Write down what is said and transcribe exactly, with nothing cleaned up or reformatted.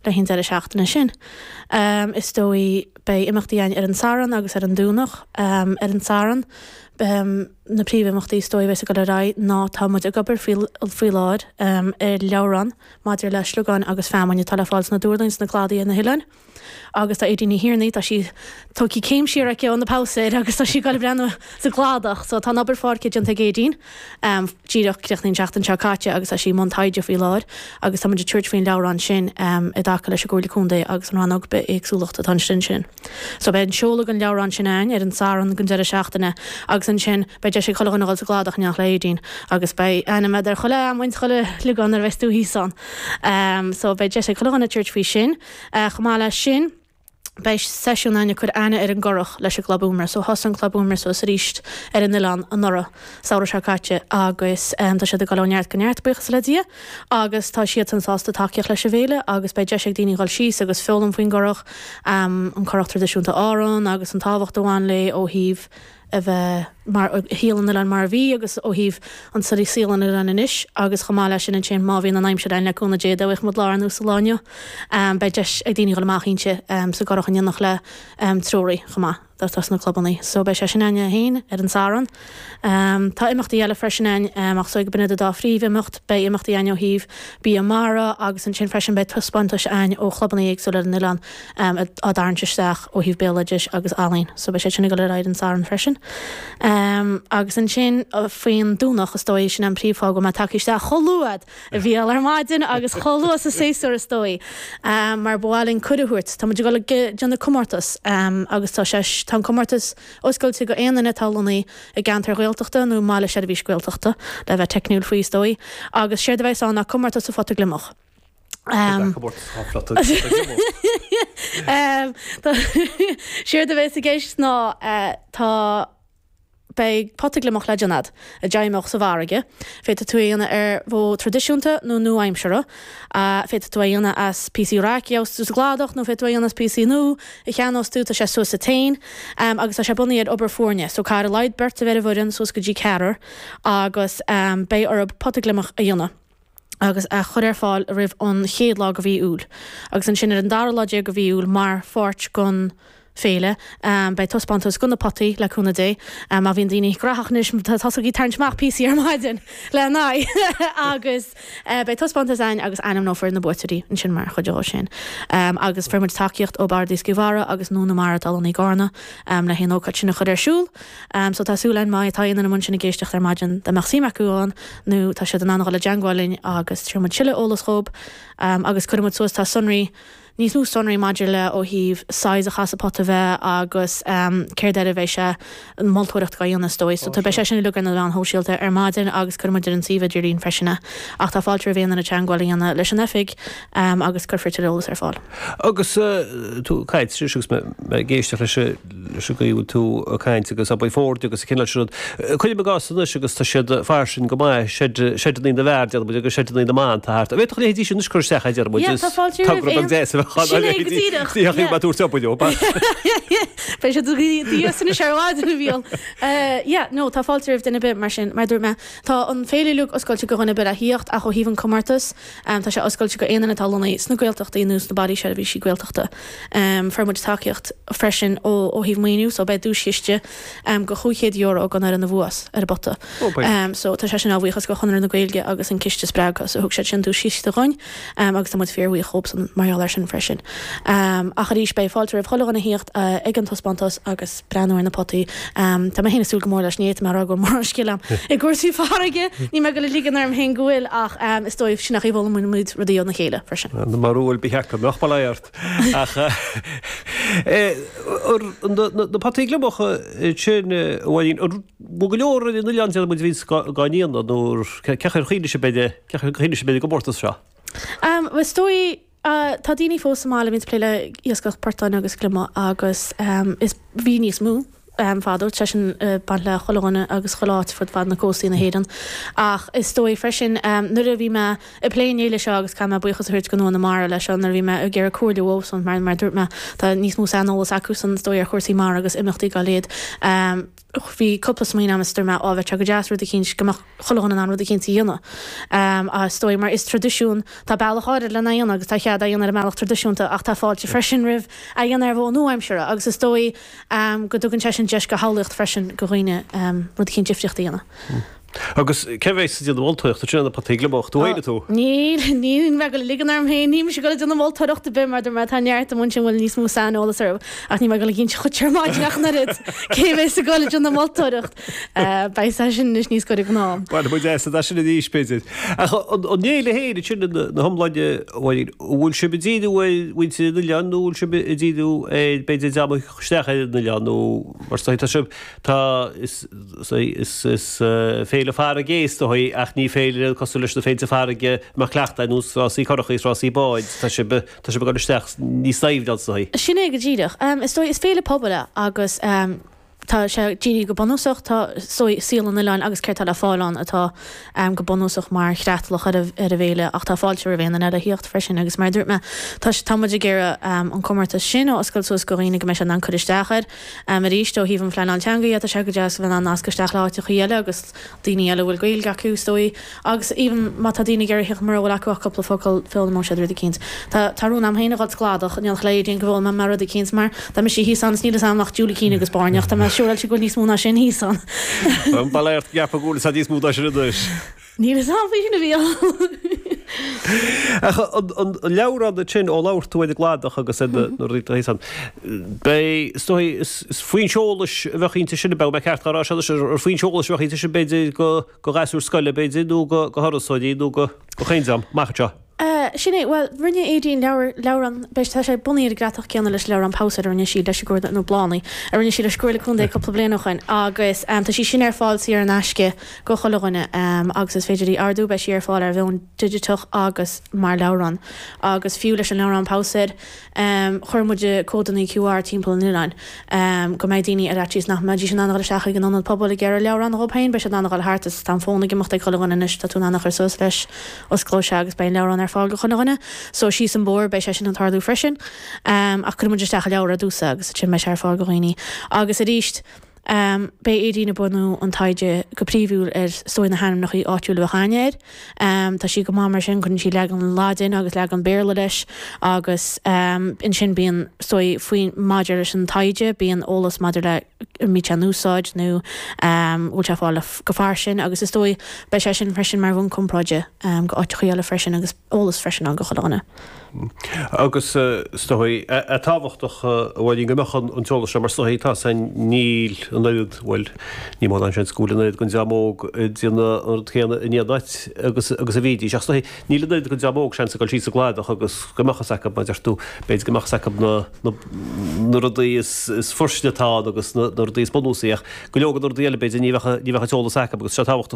le haghaidh an deireadh seachtaine sin. Is dóigh beidh imeachtaí againn ar an Satharn agus ar an Domhnach. Ar an Satharn, na príomhimeachtaí is dóigh a bheas ag dul ar aghaidh ná tá muid ag obair faoi faoi láthair ar leabhrán maidir le sliogáin agus feamainn atá le fáil sna dúrlainn, sna cladaí ar na hoileáin. Agus tá Aedín Ní Thiarnaigh, tá sí tógtha céim siar aici ó na pabhsaeir agus tá sí ag dul ag breathnú sa gcladach. So tá an obair pháirce déanta ag Aedín, díreach críochnaithe an tseachtain seo caite agus tá sí i mbun taighde faoi láthair agus tá muid ag tabhairt faoin leabhrán sin i dtaca leis an gComhairle Contae agus an Rannóg Bithéagsúlachta atá ansin sin. So beidh an seoladh den leabhrán sin againn ar an Satharn don deireadh seachtaine agus ansin beidh deis ag chuile dhuine a dhul sa gcladach in éineacht le Aedín agus beidh ainm agat ar chuile fheamainn, chuile shliogán nuair a bheas tú thíos ann. So beidh deis ag chuile dhuine tabhairt faoi sin. Chomh maith leis sin, beidh seisiún againn ag cur aithne ar an gcurach leis an gClub Úmaire. So thosaigh an Club Úmaire suas arís ar an oileán anuraidh, samhradh seo caite, agus tá siad ag dul ó neart go neart, buíochas le Dia, agus tá siadsan sásta tacaíocht leis an bhféile agus beidh deis ag daoine dhul síos agus foghlaim faoin gcurach, an curach traidisiúnta Árann agus an tábhacht a bhain léi ó thaobh a bheith mar shaol an oileáin mar a bhí agus ó thaobh an saol an oileáin anois agus chomh maith leis sin ansin má bhíonn an aimsir ann le cúnamh Dé dá mbeadh muid lá ar nós an lá inniu beidh deis ag daoine dhul amach inti sa gcurach in éineacht le treoraí chomh maith atá sna clubanna. So beidh sé sin againn féin ar an Satharn. Tá imeachtaí eile freisin againn ach so ag b'in iad an dá phríomhimeacht. Beidh imeachtaí againn ó thaobh bia mara agus ansin freisin beidh taispeántais againn ó chlubanna éagsúla ar an oileán á dtarraingt isteach ó thaobh béaloidis agus ealaín. So beidh sé sin ag dul ar aghaidh ar an Satharn freisin. Agus ansin faoin Domhnach is dóigh, sin an príomhfháth go bhfuil mé tagtha isteach chomh luath a Mhícheáil ar maidin agus chomh luath sa séasúr is dóigh mar ba mhaith linn cuireadh a thabhairt. Tá muid ag dul ag déanamh comórtas agus tá sé, tá an comórtas oscailte go aon duine atá lonnaithe i gceantar Ghaeltachta nó i mbaile seirbhís Gaeltachta le bheith teicniúil faoi is dóigh agus séard a bheas ann ná comórtas sa phota gliomach. Séard a bheas i gceist ná tá beidh pota gliomach le déanamh agat a d'fheidhmeodh sa bhfarraige. Féadfaidh tú é a dhéanamh ar mhodh traidisiúnta nó nua-aimseartha. Féadfaidh tú é a dhéanamh as píosaí raic a gheobhas tú sa gcladach nó féadfaidh tú é a dhéanamh as píosaí nua a cheannós tú, tá sé suas sa toin agus tá sé bunaithe ar obair foirne. So caithfidh ar a laghad beirt a bheith ar an bhfoireann, suas go dtí ceathrar, agus beidh orthu pota gliomach a dhéanamh agus a chur ar fáil roimh an chéad lá de mhí Iúil. Agus ansin ar an dara lá déag de mhí Iúil mar pháirt den féile, beidh taispeántas de na potaí, le cúnamh Dé. Má bhíonn daoine graitheach anois, tosaigí ag tarraingt amach píosaí ar maidin le n-aghaidh agus beidh taispeántas againn agus ainmneofar na buaiteoirí ansin mar chuid dhó sin. Agus fuair muid tacaíocht ó Bord Iascaigh Mhara agus Nua na Mara atá lonnaithe i gCarna le haon ócáid sin a chur ar siúl. So tá súil againn má tá aon duine amuigh ansin ag éisteacht ar maidin dá mbeadh suim acu ann nó tá siad in ann a dhul i dteangmháil linn agus tabharfaidh muid tuilleadh eolas dhób agus cuirfidh muid suas tá sonraí níos mó sonraí maidir le ó thaobh size a chaithfeas an pota bheith agus céard air a bheidh sé an moltóireacht dhá dhéanamh is dóigh. So beidh sé sin uilig ar na meáin shóisialta ar maidin agus cuirfidh muid ar an suíomh idirlín freisin é. Ach tá fáilte roimh aon duine teangmháil a dhéanamh leis an oifig agus cuirfear tuilleadh eolas ar fáil. Agus tú ag caint anois agus mé ag éisteacht leis an leis an gcaoi a bhfuil tú ag caint agus abair foirne agus an cineál sin rud. Cuirim i gcás anois agus tá siad fairsing go maith, seid seideanna na bhfear déarfaidh muid agus seideanna na mban tá thart. An bhféadfadh leithéidí sin anois cur isteach a deir muid Yeah, is tá fáilte roimh togra beag aon deas a bheadh ann Sin é go díreach, Ní yeah. mé tabhairt obair leo. Beidh siad díos anois ar maidin a Mhícheáil. Yeah, no, tá fáilte roimh duine ar bith mar sin, mar a dúirt mé, tá an féile uilig oscailte go dhuine ar bith le thíocht ach ó thaobh an comórtas, Tá sé oscailte go aon duine atá lonnaithe sna Gaeltachtaí nó sna bailí seirbhísí Gaeltachta. Fuair muid tacaíocht freisin ó ó thaobh maoiniú so beidh duaischiste go chúig chéad euro ag an fhoireann a bhuas ar an bpota. So tá sé sin á bhuíochas go Chonradh na Gaeilge agus an Ciste Spreagtha so thug siad sin duaischiste dhuinn agus tá muid fíorbhuíoch dhóibhsan mar gheall air sin freisin. Ach arís beidh fáilte roimh chuile dhuine a thíocht ag an taispeántas agus breathnú ar na potaí. Tá mé féin ag súil go mór leis, ní fhéadfaidh mé a rá go bhfuil mórán scil agam i gcúrsaí farraige, níl mé ag dul a ligean orm féin go bhfuil ach is dóigh sin nach bhfoghlaimíonn muid rudaí óna chéile freisin. Na barúil ba cheart go mbeadh bail ort. Ach na potaí gliomacha sin, a Mháirín, an bhfuil go leor ar an oileán déarfaidh muid a bhíonns á ndéanamh nó cén chaoi ar chuimhnigh sibh ar cén chaoi ar chuimhnigh sibh ar an gcomórtas seo? Is dóigh tá daoine fós sa mbaile a bhíonns ag plé le iascach portáin agus gliomaigh agus is bhí níos mó fadó, tá sé sin ag baint le chuile dhuine agus chuile áit fud fad na cóstaí na hÉireann. Ach is dóigh freisin nuair a bhí mé ag plé an fhéile seo agus caithfidh mé buíochas a thabhairt go Nua na Mara leis seo nuair a bhí mé ag iarraidh comhairle uathusan mar mar a dúirt mé tá níos mó saineolas acusan is dóigh ar chúrsaí mara agus imeachtaí dá leithéid. Bhí cúpla smaoineamh is dúirt mé á bheadh sé go deas rud eicínt go mbeadh chuile dhuine in ann rud eicínt a dhéanamh. Is dóigh mar is traidisiún, tá bealach áirid lena dhéanamh agus tá cead é a dhéanamh ar an mbealach traidisiúnta ach tá fáilte freisin roimh é a dhéanamh ar mhodh nua-aimseartha agus is dóigh go dtugann sé sin deis go shamhlaíocht freisin go dhaoine rud eicínt difríocht a dhéanamh. Agus cé bheas ag déanamh moltóireachta sin na potaí gliomach tú féin tú? Níl, níl mé ag dul a ligean orm féin, níl mise ag dul ag déanamh moltóireacht ar bith mar dúirt mé tá neart amuigh ansin a bhfuil níos mó saineolas orthu ach níl mé ag dul ag inse dhuit ar maidin ach an oiread cé bheas ag dul ag déanamh moltóireacht. Beidh sé sin anois níos gaire don am. Bainfidh muid as sin arís b'fhéidir. Ach an fhéile féin ansin ina hiomláine, a Mháirín, an bhfuil sibh ag díriú ar mhuintir an oileáin nó an bhfuil sibh ag díriú ar b'fhéidir dream a thiocfadh isteach ar an oileán nó mar is dóigh tá sibh tá is is is féile farraige is dóigh ach ní féile cosúil leis na féilte farraige a mbeadh cleachtadh ar nós rásaí curachaí is rásaí báid tá sibh tá sibh ag dul isteach níos doimhne is dóigh. Sin é go díreach. Is dóigh is féile pobail é agus tá sé dírithe go bunúsach tá is dóigh saol an oileáin agus céard tá le fáil ann atá go bunúsach mar chreatlach ar an bhféile ach tá fáilte roimh aon duine eile a thíocht freisin agus mar a dúirt mé tá tá muid ag iarraidh an comórtas sin a oscailt suas go dhaoine go mbeidh siad in ann cur isteach air. Arís ó thaobh an phleanáil teanga dhe tá sé go deas a bheith in ann nascadh isteach le háiteachaí eile agus daoine eile a bhfuil Gaeilge acu is dóigh agus even má tá daoine ag iarraidh theacht mura bhfuil acu ach cúpla focal foghlaimeoidh siad rud eicínt. Tá tá rún a'm féin a dhul sa gCladach in éineacht le Aedín go bhfoghlaimeoidh mé rud eicínt mar tá mise thíos ann is níl fhios a'm ach Julie Keane agus Bairneach tá mé siúráilte go bhfuil níos mó ná sin thíos ann. Bail ort ceapaim go bhfuil níos mó ná sin anois. Níl fhios a'm faoi sin a bhí Ach an leabhrán sin ó labhair tú ar an gCladach agus ar na rudaí thíos ann, beidh, is dóigh, is foinse eolais a bheadh inti sin, beidh mé ceart á rá seo anois, ar foinse eolais a bheadh inti sin b'fhéidir go ghasúir scoile b'fhéidir nó go thurasóirí nó go chaon dream amach anseo. Sin é, bhuel, rinne Aedín leabhar, leabhrán, beidh, tá sé bunaithe ar an gcreatlach céanna leis an leabhrán Pabhsaeir a rinne sí leis an gComhairle, nó Bláthnaí, a rinne sí leis an gComhairle Contae cúpla bliain ó shoin agus tá sí sin ar fáil saor in aisce go chuile dhuine agus is féidir í a ordú, beidh sí ar fáil ar mheon digiteach agus mar leabhrán agus fiú leis an leabhrán Pabhsaeir chuir muid códanna Q R timpeall an oileáin go mbeidh daoine ar fhaitíos nach mbeidís in ann a dhul isteach chuig an ionad pobail ag iarraidh leabhrán dhóibh féin, beidh siad in ann a dhul thart is tá an fón ag imeacht ag chuile dhuine anois, tá tú in ann a chur suas leis, osclóidh sé agus beidh an leabhrán ar fáil go chuile dhuine. So síos an bóthar beidh sé sin ag tarlú freisin. Ach cuirfidh muid isteach an leabhar ar dtús agus ansin beidh sé ar fáil go dhaoine. Agus arís, beidh Aedín ag bunú an taighde go príomhúil ar is dóigh na hainmneacha áitiúla a bheadh aithne air. Tá sí go maith mar sin, cuireann sí leagan Laidin agus leagan Béarla leis agus ansin bíonn is dóigh faoi maidir leis an taighde, bíonn eolas maidir le an mbíonn sé in úsáid nó an bhfuil sé ag fáil go fairsing agus is dóigh beidh sé sin freisin mar bhonn comparáide go áiteachaí eile freisin agus eolas freisin ann go chuile dhuine. Agus is dóigh, é tábhachtach a Mháirín go mbeadh an t-eolas seo mar is dóigh tá san níl an oiread, bhuel ní mórán seans go bhfuil an oiread den dream óg ag déanamh an rud céanna in aon áit agus agus a bhídís ach is dóigh níl an oiread den dream óg seans ag dul síos an Cladach agus go mbeadh fhios acu mar deir tú b'fhéidir go mbeadh fhios acu na na na rudaí is is fuirste atá ann agus na na rudaí is bunúsaí ach go leor de na rudaí eile b'fhéidir ní bheadh ní bheadh an t-eolas acu agus sé tábhachtach